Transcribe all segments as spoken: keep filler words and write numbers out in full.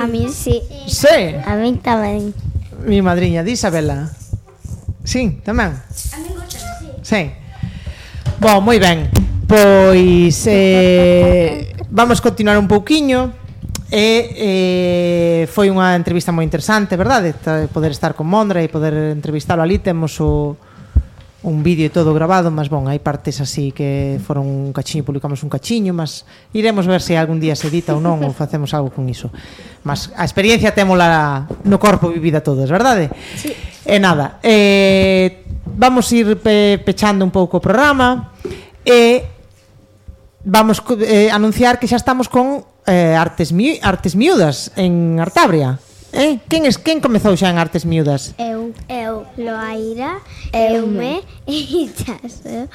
A mí sí. Sí? A mí tamén. Mi madriña, di Isabela. Sí, tamén? A mí gusta, sí. Sí. Bom, moi ben. Pois eh, vamos continuar un pouquiño. E eh, foi unha entrevista moi interesante, verdade? Poder estar con Mondra e poder entrevistalo ali. Temos o un vídeo e todo grabado, mas bon, hai partes así que foron un cachiño, publicamos un cachiño, mas iremos ver se algún día se edita ou non, ou facemos algo con iso. Mas a experiencia témola no corpo vivida todos, verdade? Sí. E nada, eh, vamos ir pe pechando un pouco o programa e vamos eh, anunciar que xa estamos con eh, Artes, mi Artes Miúdas en Artabria. Eh? Quen, es, quen comezou xa en Artes Miúdas? Eu, eu, Loaira, Eume e Chaso.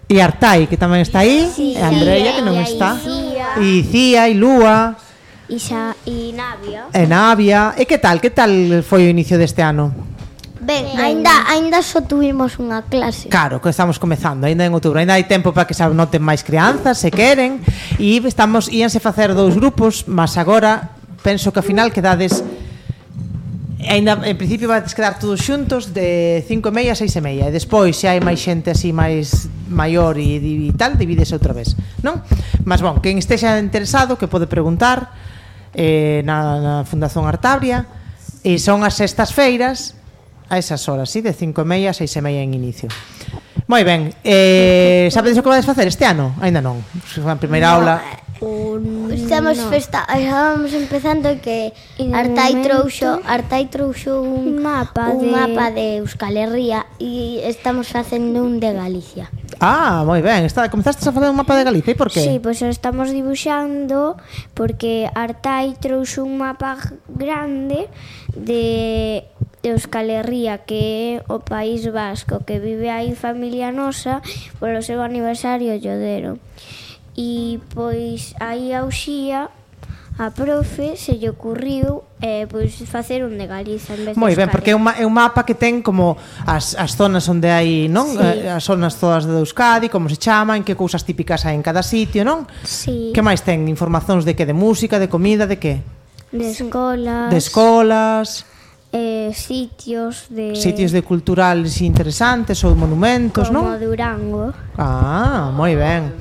E Artai, que tamén está aí, Sí, e Andrea, que non e está, Icía. e Cía, e Lúa, E, xa, e Navia. e Navia. E que tal, que tal foi o inicio deste ano? Ben, ainda, ainda só tuvimos unha clase. Claro, que estamos comezando, ainda en outubro, ainda hai tempo para que se anoten máis crianzas, se queren, e estamos, íanse facer dous grupos, mas agora penso que ao final quedades, ainda en principio vais quedar todos xuntos de cinco e meia a seis e meia, e despois se hai máis xente así máis maior e, e tal, divídese outra vez, non? Mas bon, quen estexa interesado que pode preguntar eh, na, na Fundación Artabria, e son as sextas feiras a esas horas, sí, de cinco e meia a seis e meia en inicio. Moi ben, eh, sabedes o que vades facer este ano? Ainda non, a primeira No, aula. Un... Estamos no. festa, estábamos empezando que E de Artai momento, trouxo, Artai trouxo un, un mapa un de- mapa de Euskal Herria e estamos facendo un de Galicia. Ah, moi ben, está, comezastes a facer un mapa de Galicia, e por qué? Sí, pois o estamos dibuixando porque Artai trouxe un mapa grande de Euskal Herria, que é o País Vasco, que vive aí familia nosa polo seu aniversario llodero. E pois aí a Uxía, a profe, se lle ocurriu eh, pois facer un de Galiza en vez de Moi ben, Euskal porque é un, ma- é un mapa que ten como as, as zonas onde hai, non? Sí. Eh, as zonas todas de Euskadi, como se chaman, que cousas típicas hai en cada sitio, non? Sí, Que máis ten? Informacións de que? De música, de comida, de que? de escolas, De escolas, eh, sitios de sitios de culturales interesantes ou monumentos, como non? Durango. Ah, moi ben.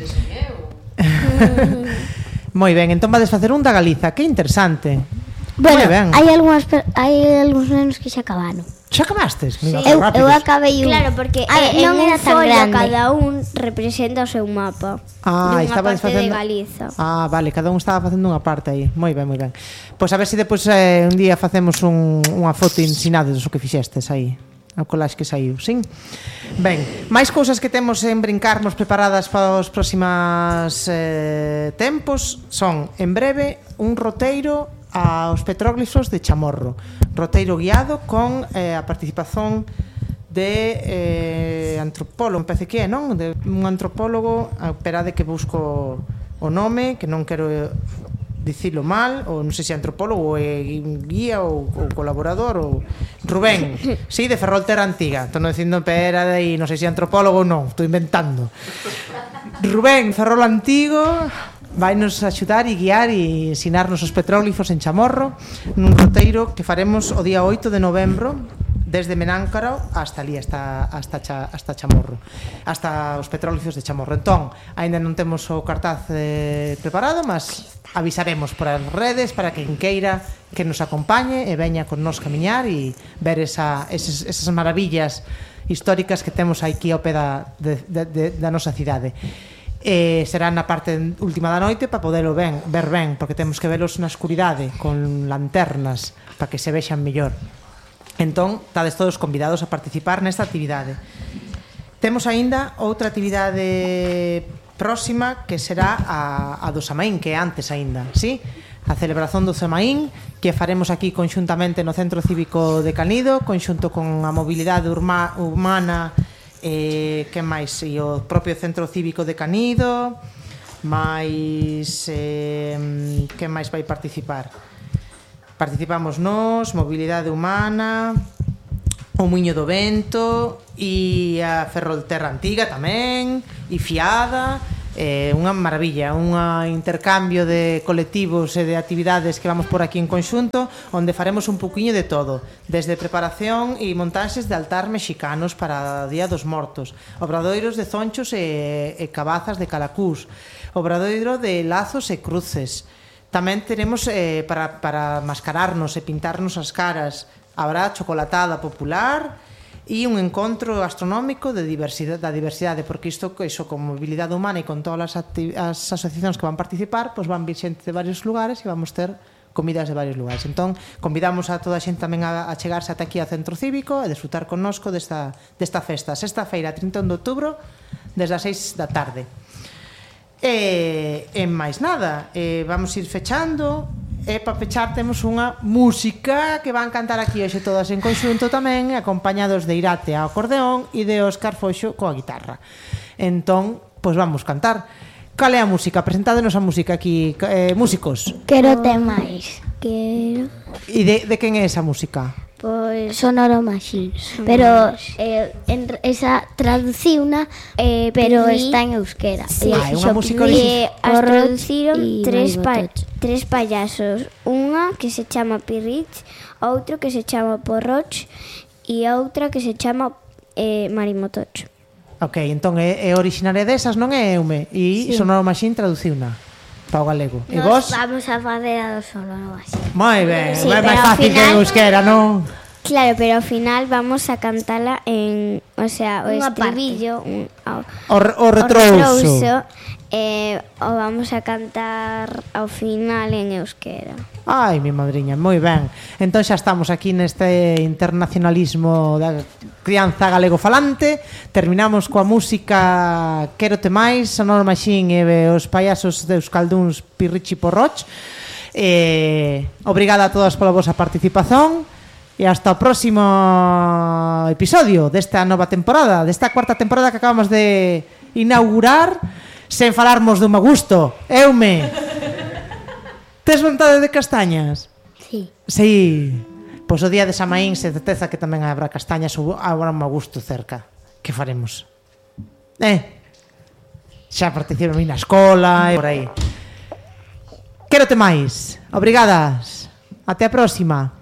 Moi ben, entón vades facer un da Galiza, que interesante. Bueno, Moi ben. hai algunhas per- hai algúns nenos que xa acabaron. Xa acabastes? Mira, Eu, eu rápidos. acabei un. Claro, porque Ah, eh, non en era un tan follo grande. cada un representa o seu mapa. Ah, dunha estabades parte facendo de Galiza. Ah, vale, cada un estaba facendo unha parte aí. Moi ben, moi ben. Pois a ver se depois eh, un día facemos un, unha foto ensinades o que fixestes aí. A collage que saiu, sin? Ben, máis cousas que temos en brincarmos preparadas para os próximas eh, tempos son, en breve, un roteiro aos petróglifos de Chamorro. Roteiro guiado con eh, a participación de eh, antropólogo, me parece que é, non? De un antropólogo, esperade que busco o nome, que non quero dicilo mal, ou non sei se é antropólogo ou é guía ou, ou colaborador ou Rubén, sí, de Ferrolterra Antiga. Estou non dicindo pera de aí, non sei se é antropólogo ou non, estou inventando. Rubén Ferrol Antigo vai nos axudar e guiar e ensinarnos os petróglifos en Chamorro nun roteiro que faremos o día oito de novembro desde Menáncaro hasta ali, hasta, hasta, cha, hasta Chamorro, hasta os petróglifos de Chamorro. Entón, aínda non temos o cartaz eh, preparado, mas avisaremos por as redes para que quen queira que nos acompañe e veña con nos camiñar e ver esa, esas, esas maravillas históricas que temos aquí ao pé da, de, de, de, da nosa cidade. Eh, será na parte última da noite para poderlo ben, ver ben, porque temos que velos na escuridade con lanternas para que se vexan mellor. Entón, estades todos convidados a participar nesta actividade. Temos aínda outra actividade próxima que será a, a do Samaín, que é antes aínda, sí? A celebración do Samaín, que faremos aquí conxuntamente no Centro Cívico de Canido, conxunto con a mobilidade urma, humana, eh, que máis? E o propio Centro Cívico de Canido, máis... Eh, que máis vai participar? Participamos nós, Mobilidade Humana, o Muiño do Vento e a Ferrolterra Antiga tamén, e Fiada, eh, unha maravilla, un intercambio de colectivos e de actividades que vamos por aquí en conxunto, onde faremos un poquinho de todo, desde preparación e montaxes de altar mexicanos para o Día dos Mortos, obradoiros de zonchos e, e cabazas de calacús, obradoiro de lazos e cruces. Tamén teremos eh, para, para mascararnos e pintarnos as caras, habrá chocolatada popular e un encontro astronómico de diversidade, da diversidade, porque isto, iso con mobilidade humana e con todas as, as asociacións que van participar, pois van vir xente de varios lugares e vamos ter comidas de varios lugares. Entón, convidamos a toda a xente tamén a, a chegarse ata aquí ao Centro Cívico e disfrutar connosco desta, desta festa. Sexta feira, trinta e un de outubro, desde as seis da tarde. E, e máis nada, e vamos ir fechando. E para pechar temos unha música que van cantar aquí hoxe todas en conxunto tamén, acompañados de Irate ao acordeón e de Óscar Foxo coa guitarra. Entón, pois vamos cantar. Cal é a música? Presentádenos a música aquí, eh, músicos. Quero te máis. Quero... E de, de quen é esa música? Pois... Sonoro Machines. Pero eh, en, esa traduciuna, eh, pero Pirri. está en euskera. Sí, Ah, é unha música E original. as traduciron tres, pa Maribotoch. tres payasos. Unha que se chama Pirrich, outro que se chama Porroch e outra que se chama eh, Marimotoch. Ok, entón é, é originaria desas, non é Eume? E sí. Sonoro Machine traduciuna para o galego. E vos? Vamos a facer a do Sonoro Machines. Moi ben, Sí, é máis pero ao fácil que final- en euskera, non? Claro, pero ao final vamos a cantala en, o sea, o Unha estribillo, un, o, O, re- o o retrouso. retrouso, eh, o vamos a cantar ao final en euskera. Ai, mi madriña, moi ben. Entón xa estamos aquí neste internacionalismo da crianza galego falante. Terminamos coa música Quérote máis, Sonoro Machine e os payasos de Euskalduns Pirrichi Porroch. Eh, obrigada a todas pola vosa participación e hasta o próximo episodio desta nova temporada, desta cuarta temporada que acabamos de inaugurar sen falarmos do magusto. Eume, tes vontade de castañas? Sí. Sí. Pois o día de Samaín se deteza que tamén habrá castañas ou habrá un magusto cerca. Que faremos? Eh? Xa participei na escola e por aí. Quérote máis. Obrigadas. Até a próxima.